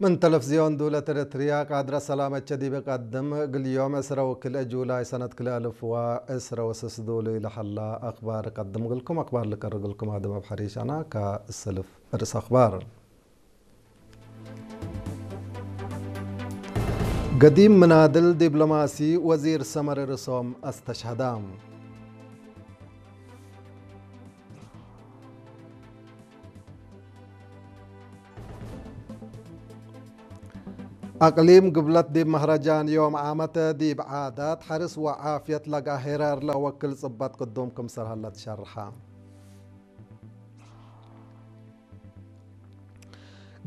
من تلفزيون دولة إريتريا قادرة سلامة شديبة قدم قل يوم عسرة وكل جولاي سنة كل ألف وعسرة وسس دولة إلى حلا أخبار قدم قلكم أخبار لك قلكم هذا ما بحريش أنا كالسلف إرس أخبار. قديم منادل دبلوماسي وزير سمر رسوم استشهدام. أقليم قبلت ديب مهرجان يوم عامة ديب عادات حرس وعافية لقى هرار لوكل صبات قدوم كم سرهلة شرحة.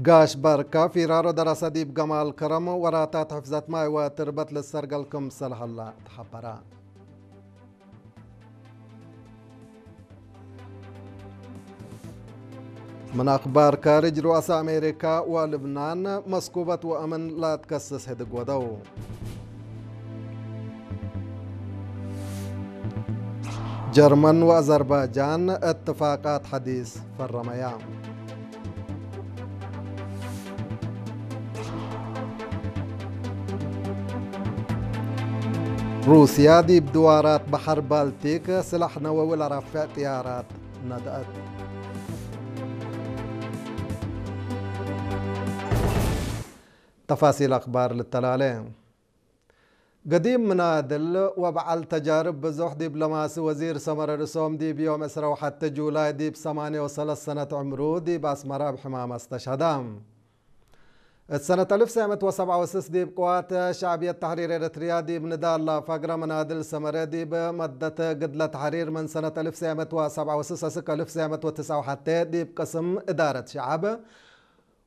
قاش بركة في رارو دراسة ديب جمال كرم وراتات حفظت ماي وتربت للسرقل كم سرهلة تحبرات. من أخبار كارج رؤساء أمريكا ولبنان مسكوبة وأمن لا تكسس هدق ودو. جرمن وأذربيجان اتفاقات حديث فرميا. روسيا دي بدوارات بحر بالتيك سلاح نووي لرفع طيارات ندأت. تفاصيل أخبار للتلالين. قديم منادل وبعل تجارب بزوح دبلوماسي وزير سمر رسوم دي بيوم عسرة وحتى جولاي دي بثمانية وثلاث سنة عمرو دي بأسمرة بحمامة استشهدام. السنة ألف سبعمية وسبعة وستين دي بقوات شعبية تحرير إريتريا دي بندال فقرة منادل سمرة دي بمدة قدلة تحرير من سنة ألف سبعمية وسبعة وستين أسك ألف سبعمية وتسعة وحتى دي بقسم إدارة شعب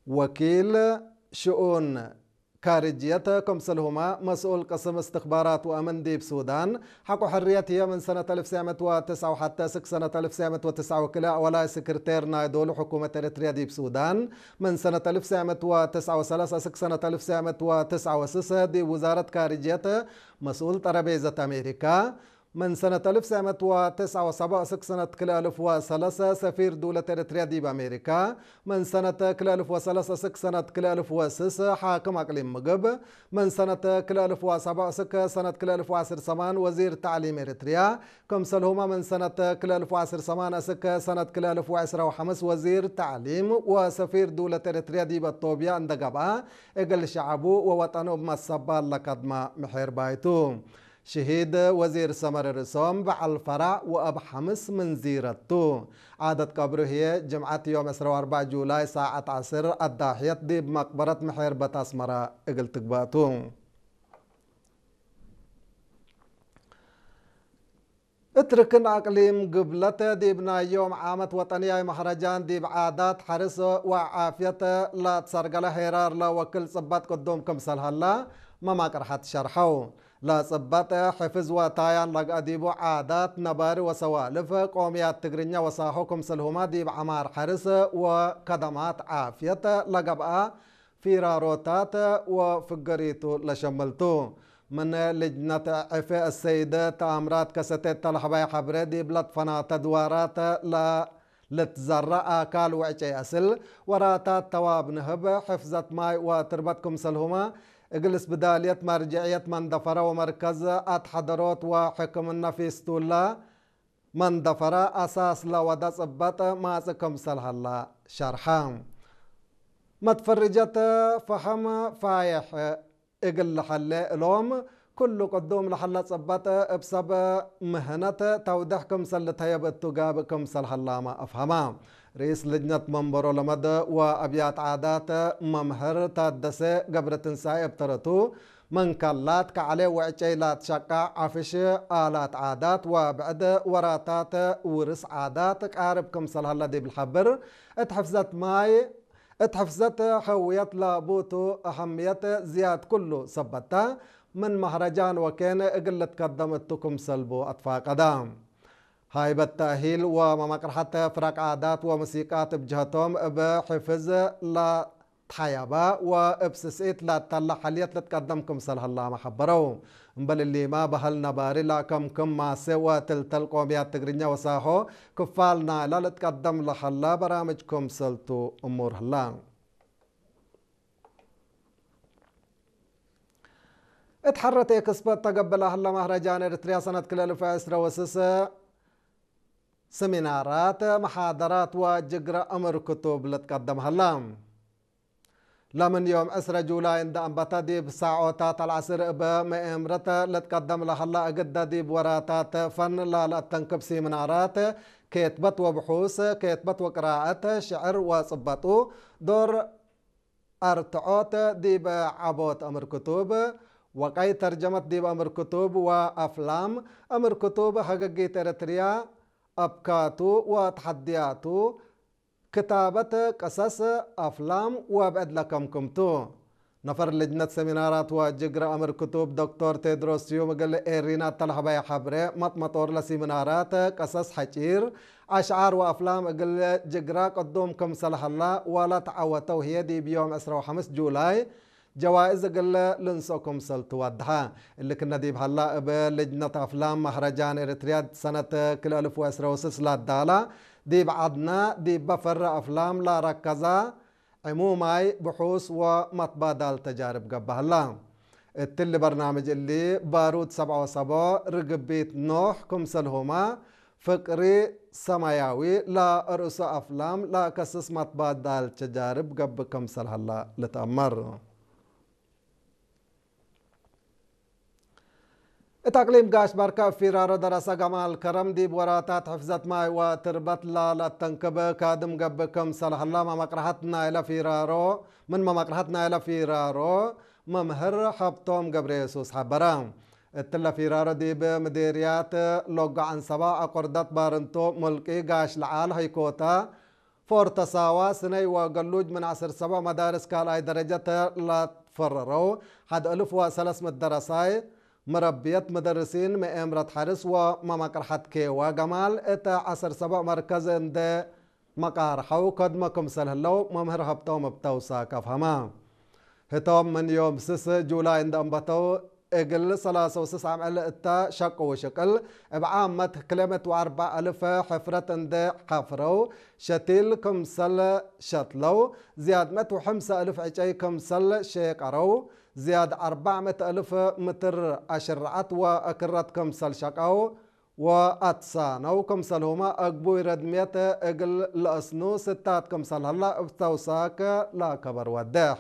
وكيل شؤون كارجية كمسلهما مسؤول قسم استخبارات وأمن ديب سودان. حق حرية هي من سنة ألف سبعمية وتسعة وحتى سك سنة ألف سبعمية وتسعة وكلا ولا سكرتير نايدول حكومة إريتريا ديب سودان. من سنة ألف سبعمية وتسعة وثلاثين سك سنة ألف سبعمية وتسعة وستين دي وزارة كارجية مسؤول ترابيزة أمريكا. من سنة ألف سبعمية وتسعة وسبعين سك سنة كل ألف وثلاثة سفير دولة إريتريا دي بأمريكا. من سنة كل ألف وثلاثة سك سنة كل ألف وسس حاكم أقليم مقب. من سنة كل ألف وسبعين سك سنة كل ألف وعشر سمان وزير تعليم إريتريا. كم سلهما من سنة كل ألف وعشر سمان سك سنة كل ألف وعشر وحمس وزير تعليم وسفير دولة إريتريا دي بطوبيا اندقبا. إقل شعبو ووطنو بمسبال لقدما محير بايتو. شهيد وزير سمر رسوم بعل فرع وأب حمس من زيرتو. عادة قبره هي جمعة يوم عشرة وأربعة جولاي ساعة عصر الضاحية دي بمقبرة محير بتاسمرة إقل تقباتو. اتركن أقليم قبلة دي بنايوم عامة وطنية مهرجان دي بعادات حرس وعافية لا تسرقل هيرار لا وكل صبات قدوم كمسل هلا ما ما قرحت شرحو. لا صبات حفظ وتايان لقى ديبو عادات نباري وسوالف قوميات تقرنيا وساحو كمسل هما دي بعمار حرس وكدمات عافية لقبقى ፊራሮታት ወፍገሪቱ ለሸመልቱ። ምን ልጅነት ዕፌ እሰይደ ተኣምራት ከሰቴት ተለሕባይ ሐብረ ዲብ ለትፈናተ ድዋራት ለልትዘራ ኣካል ወዕጨይ ኣስል ወራታት ተዋብ ንህብ ሕፍዘት ማይ ወትርበት ክምሰልሁመ እግል ስብዳልየት መርጅዕየት መንደፈረ ወመርከዝ ኣትሐደሮት ወሕክምና ፊስቱላ መንደፈረ ኣሳስ ለወደ ጽበጥ ማጽእ ክምሰል ሀላ ሸርሐ። መትፈርጀት ፈሐም ፋየሕ እግል ለሀሌ እሎም፣ ክሉ ቅዱም ለሀለ ጽበጥ እብ ሰብ ምህነት ተውደሕ ክምሰል ልተየብ እቱ ጋብእ ክምሰል ሀላመ አፍሀመ። ርኢስ ልጅነት መንበሮ ለመድ ወአብያት ዓዳት መምህር ታደሰ ገብረትንሳኤ እብ ተረቱ፣ መንከላት ከዐሌ ወዕጨይ ላትሸቃዕ ዐፍሽ፣ ኣላት ዓዳት ወብዕድ ወራታት ውርስ ዓዳት ቃርብ ክምሰል ሀለ ዲብ ልሐብር፣ እት ሕፍዘት ማይ፣ እት ሕፍዘት ሀውየት ላቡቱ አሀምየት ዝያድ ክሉ ሰበታ፣ ምን መህረጃን ወኬን እግል ልትከደም እቱ ክምሰል ቡ አትፋቀዳ። ሃይበት ተእሂል ወመመቅርሐት ፍረቅ ዓዳት ወሙሲቃት እብ ጀህቶም እብ ሕፍዝ ለ ተሐያባ ወእብ ስስኢት ላተለ ሐልየት ልትቀደም ክምሰል ሀላመ ሐበረው። እምበል እሊማ በህል ነባሪ ለአከምክም ማሴ ወትልተል ቆምያት ትግርኛ ወሳሆ ክፋል ናይላ ልትቀደም ለሀላ በራምጅ ክምሰልቱ እሙር ህላ። እት ሐረት ኤክስፖ እተገብእ ለሀላ መህረጃን ኤርትርያ ሰነት ክልኤ እልፍ ዕስረ ወስስ ሰሚናራት፣ መሓደራት ወጅግረ እምር ክቱብ ልትቀደም ሀላ። ለምን ዮም ዕስረ ጁላይ እንደ አንበተ ዲብ ሳዖታት አልዐስር እበ መኤምረት ልትቀደም ለሀላ እግደ ዲብ ወራታት ፈን ላለአተንክብ ሲሚናራት፣ ኬትበት ወብሑስ፣ ኬትበት ወቅራአት፣ ሽዕር ወጽበጡ፣ ዶር አርትዖት ዲብ ዐቦት እምር ክቱብ፣ ወቀይ ተርጀመት ዲብ እምር ክቱብ ወአፍላም እምር ክቱብ፣ ሀገጊት ኤረትርያ፣ አብካቱ ወተሐድያቱ፣ ክታበት ቀሰስ አፍላም ወብዕድ ለከምክምቱ። ነፈር ልጅነት ሰሚናራት ወጅግረ እምር ክቱብ ዶክተር ቴድሮስ ስዩም እግል ኤሪና እተለሀበየ ሐብሬ፣ መጥመጦር ለሲሚናራት ቀሰስ ሐጪር፣ አሽዓር ወአፍላም እግል ጅግራ ቅዱም ክምሰል ሀላ ወለተዐወተው ህዬ ዲብ ዮም ዕስራ ወሐምስ ጁላይ ጀዋእዝ እግል ልንስኦ ክምሰል ትወድሐ። እሊ ክነ ዲብ ሀላ እብ ልጅነት አፍላም መህረጃን ኤረትርያ ሰነት ክልኤ እልፍ ወዕስራ ወስስ ላዳላ ዲብ ዐድና ዲበ ፈረ አፍላም ላረከዛ ዕሙማይ ብሑስ ወመትባዳል ተጃርብ ገብእ ሀላ። እትሊ በርናምጅ እሊ ባሩድ ሰብዓ ወሰቦ፣ ርግቢት ኖሕ ክምሰልሁማ ፍቅሪ ሰማያዊ ለርእሱ አፍላም ለከስስ መትባዳል ተጃርብ ገብእ ክምሰል ሀላ ልትአመር። እት አቅሊም ጋሽ ባርካ እብ ፊራሮ ደረሰ ገማል ከረም ዲብ ወራታት ሕፍዘት ማይ ወትርበት ላለአተንክብ ካድም ገብእ ክምሰል ሀላ መመቅርሐት ናይለ ፊራሮ፣ ምን መመቅርሐት ናይለ ፊራሮ መምህር ሀብቶም ገብረየሱስ ሐበረ። እትለ ፊራሮ ዲብ ምዴርያት ሎጎ ዐንሰባ፣ አቆርደት ባርንቶ፣ ሙልቂ፣ ጋሽ ለዓል፣ ሀይኮታ፣ ፎርተሳዋ፣ ስነይ ወገሉጅ ምን ዐስር ሰቦዕ መዳርስ ካልኣይ ደረጀት ላትፈረረው ሐድ እልፍ ወሰለስ ምእት ደረሳይ፣ መረብየት መደርሲን፣ መኤምረት ሐርስ ወመመቅርሐት ኬዋ ገማል እተ ዐስር ሰቦዕ መርከዝ እንደ መቃርሐው ከድመ ክምሰል ህለው መምህር ሀብቶም እብ ተውሳክ አፍሀማ። ህቶም ምን ዮም ስስ ጁላይ እንደ አንበተው እግል ሰላሳ ወስስ አምዕል እተ ሸቅው ሽቅል እብ ዓመት ክልኤ ምእት ወአርበዕ እልፍ ሕፍረት እንደ ሐፍረው ሸቲል ክምሰል ሸትለው፣ ዝያድ ምእት ወሐምሳ እልፍ ዕጨይ ክምሰል ሼቀረው፣ ዝያድ አርባዕ ምእት እልፍ ምትር አሽርዓት ወእክረት ክምሰል ሸቀው፣ ወአትሳነው ክምሰልሁመ አግቡይ ረድምየት እግል ለአስኑ ስታት ክምሰል ሀላ እብ ተውሳክ ለከበር ወዴሕ።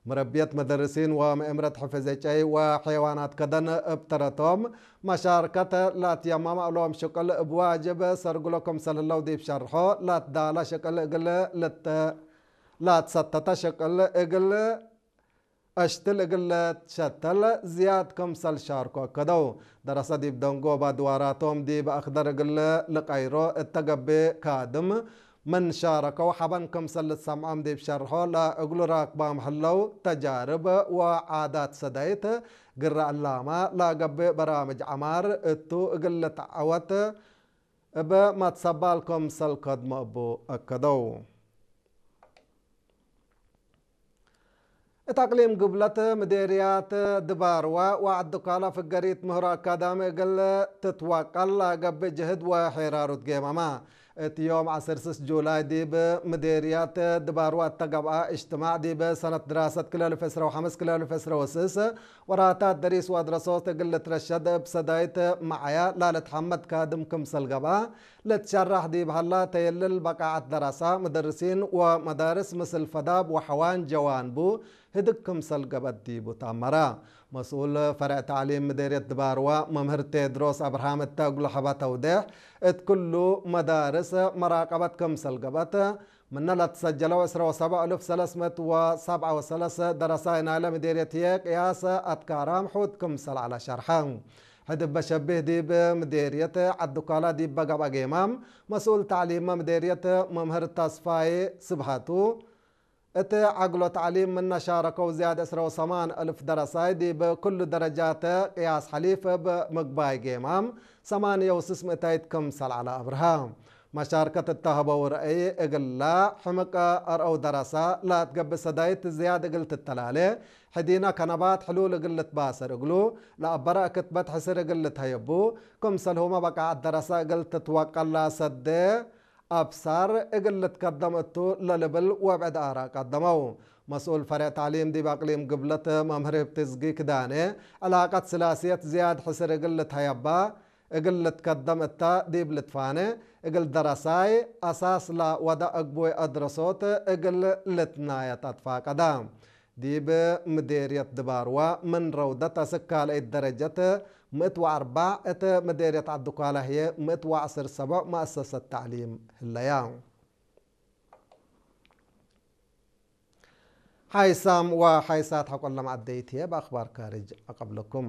መረብየት መደርሲን ወመእምረት ሕፍዝ ዕጨይ ወሐይዋናት ከደን እብ ተረቶም መሻርከት ለአትየመመ እሎም ሽቅል እብ ዋጅብ ሰርግሎ ክምሰል ህለው ዲብ ሸርሖ፣ ለአትዳለ ሽቅል እግል ልት-፣ ለአትሰተተ ሽቅል እግል አሽትል እግል ልትሸተል ዝያድ ክምሰል ሻርኮ አከደው። ደረሰ ዲብ ደንጎብ አድዋራቶም ዲብ አክደር እግል ልቀይሮ እተ ገብእ ካድም ምን ሻረከው ሐበን ክምሰል ልትሰምዖም ዲብ ሸርሖ ለእግሉ ራክባም ህለው ተጃርብ ወዓዳት ሰዳይት ግረ ዕላማ ለገብእ በራምጅ ዐማር እቱ እግል ልትዐወት እብ መትሰባል ክምሰል ከድሞ እቡ አከደው። እት አቅሊም ግብለት ምዴርያት ድባርዋ ወዐድ ዱካላ ፍገሪት ምህሮ አካዳሚ እግል ትትወቀል ለገብእ ጅህድ ወሔራሩት ጌማማ። እት ዮም ዐስር ስስ ጁላይ ዲብ ምዴርያት ድባርዋ እተ ገብአ እጅትማዕ ዲብ ሰነት ድራሰት ክልኤ እልፍ ዕስራ ወሐምስ ክልኤ እልፍ ዕስራ ወስስ ወራታት ደሪስ ወአድረሶት እግል ልትረሸድ እብ ሰዳይት መዓያ ላልትሐመድ ካድም ክምሰል ገብአ፣ ለትሸራሕ ዲብ ሀላ ተየልል በቃዐት ደረሳ፣ መደርሲን ወመዳርስ ምስል ፈዳብ ወሐዋን ጀዋንቡ ህድግ ክምሰል ገብአት ዲቡ ተአመረ። መስኡል ፈርዕ ተዕሊም ምዴርየት ድባርዋ መምህር ቴድሮስ አብርሃም እተ እግሉ ሐበ ተውዴሕ፣ እት ክሉ መዳርስ መራቀበት ክምሰል ገብአት፣ ምነ ለትሰጀለው ዕስራ ወሰብዕ እልፍ ሰለስ ምእት ወሰብዓ ወሰለስ ደረሳይ ናይለ ምዴርየት ህዬ ቅያስ አትካራም ሑት ክምሰል ዐለ ሸርሐ። ሕድ እበ ሸቢህ ዲብ ምዴርየት ዐድ ዱካላ ዲበ ገብአ ጌማም፣ መስኡል ተዕሊም ምዴርየት መምህር ተስፋዬ ስብሃቱ፣ እት ዐግሎ ተዕሊም ምነ ሻረከው ዝያድ ዕስራ ወሰማን እልፍ ደረሳይ ዲብ ክሉ ደረጃት ቅያስ ሐሊፍ እብ ምግባይ ጌማም ሰማንየ ወስስ ምእታይት ክምሰል ዐለ አብርሃ። መሻርከት እተ ሀበው ረአይ እግላ ሕምቅ አርአው ደረሳ ለአትገብእ ሰዳይት ዝያድ እግል ትተላሌ፣ ሕዲነ ከነባት ሕሉል እግል ልትባሰር እግሉ ለአበረ ክትበት ሕስር እግል ልትሀየቡ፣ ክምሰልሁመ በቃዐት ደረሳ እግል ትትወቀል ለአሰዴ أبصر እግል ልትከደም እቱ ለልብል ወብዕድ ኣራእ ቀደመው። መስኡል ፈሬዕ ተዕሊም ዲብ ኣቅሊም ግብለት መምህር ህብትዝጊ ክዳኔ፣ ዕላቀት ስላስየት ዝያድ ሕስር እግል ልትሀየባ፣ እግል ልትከደም እታ ዲብ ልትፋነ፣ እግል ደረሳይ ኣሳስ ለወደ እግቡይ ኣድረሶት እግል ልትናየት ኣትፋቀዳ። ዲብ ምዴርየት ድባርዋ ምን ረውደት አስክ ካልአይት ደረጀት ምእት ወአርባዕ፣ እት ምዴርየት ዐዲ ኳላ ህዬ ምእት ወዐስር ሰቦዕ መአሰሰት ተዕሊም ህለያ። ሓይሳም ወሓይሳት ሐቆለም ዐደይት ህዬ በአኽባር ካርጅ አቀብለኩም።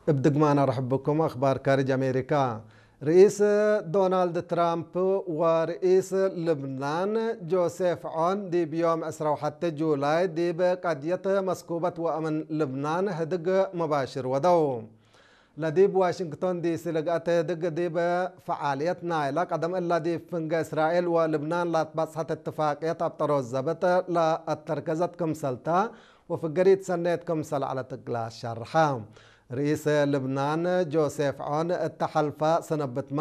እብ ድግማን አርሕብኩም አኽባር ካርጅ አሜሪካ። ርኢስ ዶናልድ ትራምፕ ወርኢስ ልብናን ጆሴፍ ዖን ዲብ ዮም ዕስራ ወሐተ ጁላይ ዲብ ቀድየት መስኩበት ወአምን ልብናን ህድግ መባሽር ወደው። ለዲብ ዋሽንግቶን ዲሲ ልግአት ህድግ ዲብ ፈዓልየት ናይላ ቀደም እላ ዲብ ፍንገ እስራኤል ወልብናን ላትባጽሐት እትፋቅየት አብ ጠሮዝ ዘብጥ ለአተርከዘት ክምሰልታ ወፍገሪት ሰኔት ክምሰል ዐለት እግላ ሸርሐ። ርኢስ ልብናን ጆሴፍ ዖን እተ ሐልፋ ሰነብትማ